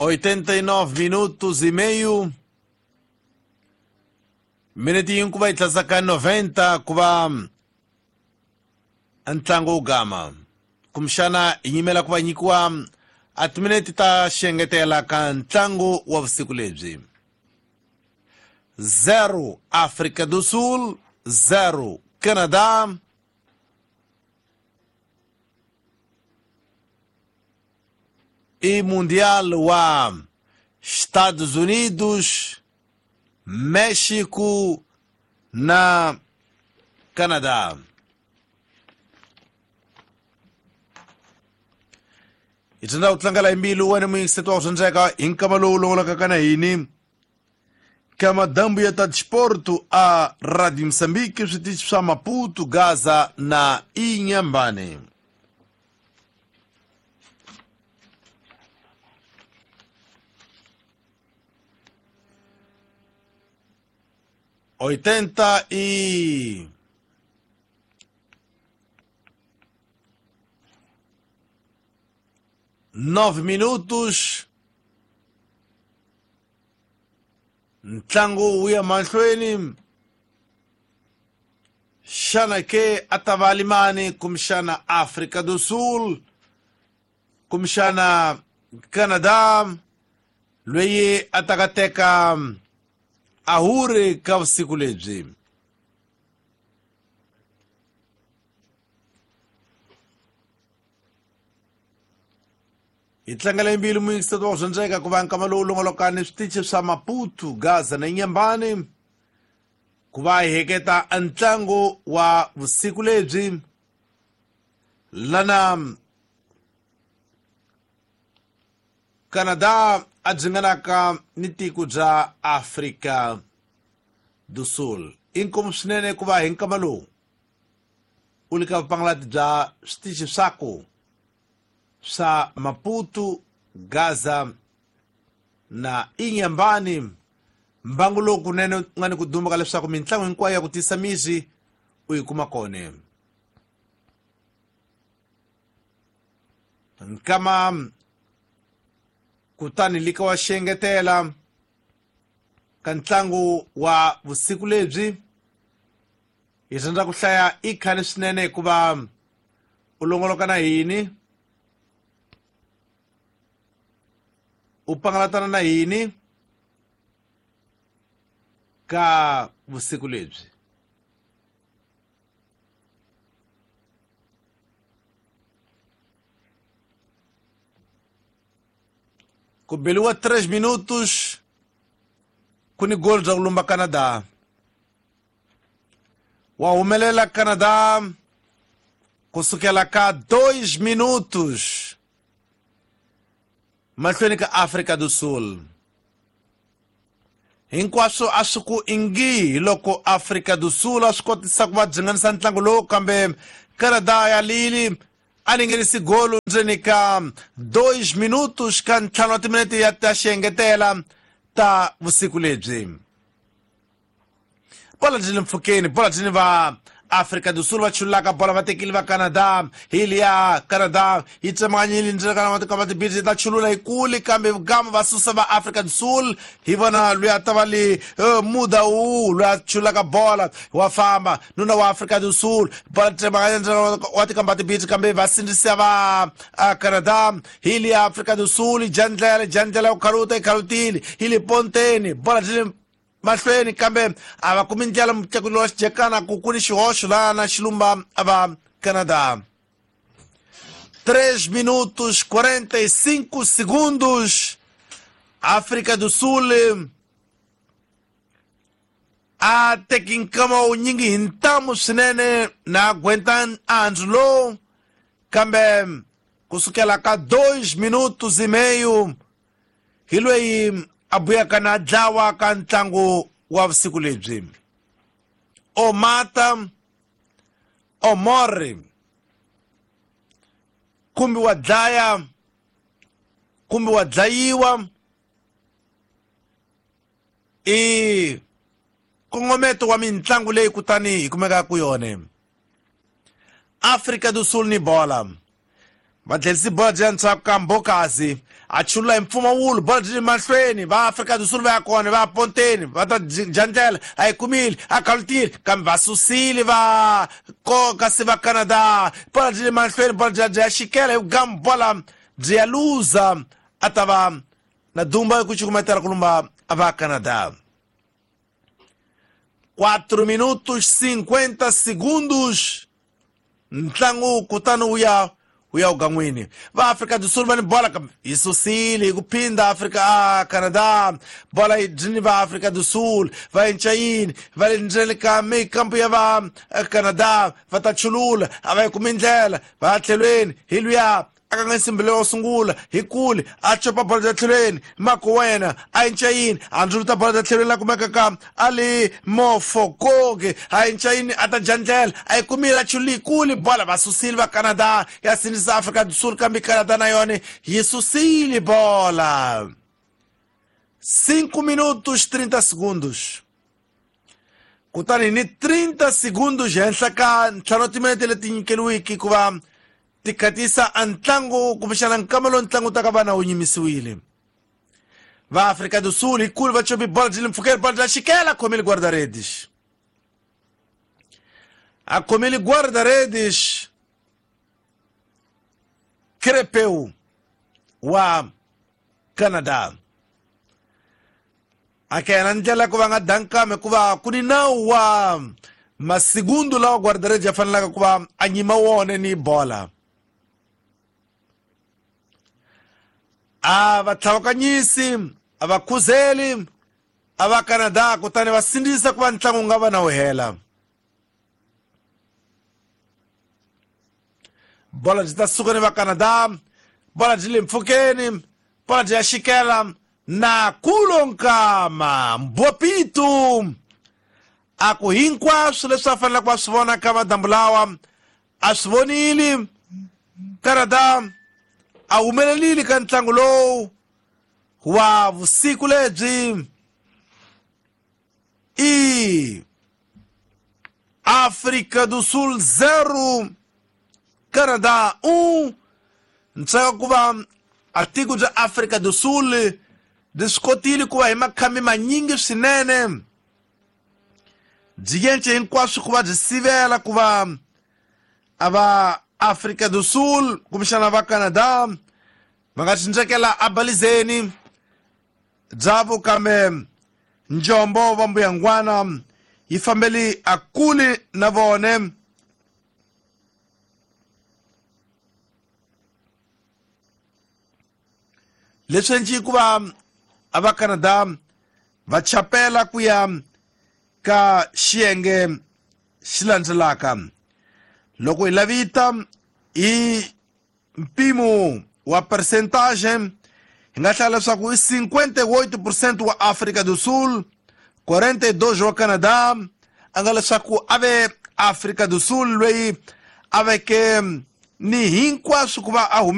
89 minutos e meio. Minute yin'we ku va yi tlasaka 90 ku va ntlangu wu gama. Kumbexana hi yimela ku va nyikiwa a timinete ta xengetela ka ntlangu wa vusiku lebyi. 0 África do Sul, 0 Canadá. I Mundial wa Estados Unidos, México na Canadá. Hi tsundza ku tlangela hi mbilu wena muyingiseti wa ku dyondzeka hi nkama lowu longolokaka na hini ka madambu ya ta disporto a Radio Moçambique, switichi swa Maputo, Gaza na Inhambane. 89 minutos. Ntlangu wu ya mahlweni. Xana ke a ta va limani kumbexana Afrika do Sul, kumbexana Canada, loyi a ta ka teka ahuri ka vusiku lebyi. Hi tlangela mbilu muyingiseti wa ku dyondzeka ku va nkama lowu longolokani switichi swa Maputo, Gaza na Inhambane ku va hi heketa ntlangu wa vusiku lebyi lana Canada a dzinganaka ni tiko bya Afrika do Sul. Inkomu swinene ku va hi nkama lowu u le ka vupangalati bya switichi swaku swa Maputo, Gaza na Inhambane. Mbangu lowu kunene u nga ni ku duma ka leswaku mintlangu hinkwayo ya ku tisa misi u yi kuma kona. Nkama kutani lika wa xengetela ka ntlangu wa vusiku lebyi hi rhandza ku hlaya i khale swinene hikuva u longoloka na hini, u pangalatana na hini ka vusiku lebyi. Ku beliwa 3 minutos ku ni gol bya ku lumba Canada. Wa humelela Canada kusukela ka 2 minutos mahlweni ka Afrika do Sul. Hinkwaswo a swi ku ingi loko Afrika do Sul a swi kotisa ku va dzinganisa ntlangu lowu, kambe Canada ya lili a ni nghenisi golo ndzeni ka 2 minutos ka ntlhanu wa timinete ya ta xiengetela ta vusiku lebyi. Bola byi le mpfhukeni, bola byi ni va Afrika do Sul va chulaka bola va tekile va Canada. Hi liya Canada yi tsemakanyile ndzeni ka matiko tibisi ta chulula hi kule, kambe gama va susa va Afrika do Sul. Hi vona loyi a ta va le muda wu loyi a chulaka bola wa famba nuna wa Afrika do Sul, bola tsemakanya ndzeni wa tikamba tibisi, kambe va sindzisa va Canada. Hi liya Afrika do Sul jandlela jandlela ku khaluta yi khalutile hi le ponteni, bola byi le mahlweni, kambe a va kumi ndlela mutlakuli wa xijekana ku ku ni xihoxo laha na xilumba va Canada. 3 minutos 45 segundos. África do Sul a teki nkama wu nyingi hi ntamu swinene na aguenta andzu lowu, kambe kusukela ka 2 minutos e meio hi loyi a buyaka na dlawa ka ntlangu wa vusiku lebyi. O mata o morre, kumbe wa dlaya kumbe wa dlayiwa, i nkongometo wa mintlangu leyi kutani hi kumekaka ku yona. Afrika do Sul ni bola Va tlherisi bola byi ya ndzhaku ka Mbokazi, a chulula hi mpfumawulo bola byi le mahlweni. Va Afrika do Sul va ya kona, va ya ponteni, va ta dya ndlela, a yi kumile, a khalutile, kambe va susile va koka se va Canada. Bola byi le mahlweni, bola byi ya xikela hi vugamu, bola byi ya luza, a ta va na dumba ku cukumetela ku lumba va Canada. 4 minutos 50 segundos ntlangu, kutani wu ya ugan'wini. Va Afrika do Sul va ni bola, kambe yi susile hi ku phinda Afrika a Canada. Bola yi dyini va Afrika do Sul, va cinca yini, va le ndzeni ka mikampu ya va Canada, va ta chulula, a va yi kumi ndlela, va ya tlhelweni hi luya a ka nga nsimbi lowo sungula hi kule, a copa bola bya tlhelweni mako wena, a cinca yini, a ndzuluta bola bya tlhelweni la kumeka ka ali Mofokoke, a cinca yini, a ta dya ndlela, a yi kumile, a chulile kule bola, va susile va Canada, ya sindzisa Afrika do Sul, kambe Canada na yona yi susile bola. 5 minutos 30 segundos, kutani ni 30 segundos henhla ka ntlhanu timinete leti nyikeriwiki ku va ti khatisa a ntlangu, kumbexana nkama lowu ntlangu ta ka vana wu nyimisiwile. Va Afrika do Sul hi kulu va copi bola byi le mpfhukeni, bola bya xikela, khomile guarda-redes, a khomile guarda-redes Crepeu wa Canada. A ka yena ndlela ku va nga dankame hikuva ku ni nawu wa masigundu lawa guarda-redes ya fanelaka ku va a nyima wona ni bola. A va tlhavakanyisi, a va khuzeli a va Canada, kutani va sindzisa ku va ntlangu wu nga va na wu hela. Bola byi ta suka ni va Canada, bola byi le mpfhukeni, bola byi ya xikela na kulonkama Mbopitu. A ku hinkwaswo leswi a faneleke va swi vona ka madambu lawa a swi vonile. Canada a humelelile ka ntlangu lowu wa vusiku lebyi. I África do Sul 0, Canada 1. Ntsaka ku va a tiko bya Afrika do Sul byi swi kotile ku va hi makhambi manyingi swinene, byi yence hinkwaswo ku va byi sivela ku va a va Afrika do Sul kumbexana va Canada va nga cindzekela abalizeni byavo, kambe njombo va mbuyangwana yi fambeli a kule na vone. Leswi endli ku va a va Canada va chapela ku ya ka xiyenge xi landzelaka. Loko hi lavita hi mpimo wa percentage, hi nga hlaya leswaku i 58% wa Afrika do Sul, 42 wa Canada. A nga leswaku a ve Afrika do Sul loyi a veke ni hinkwaswo ku va a hume.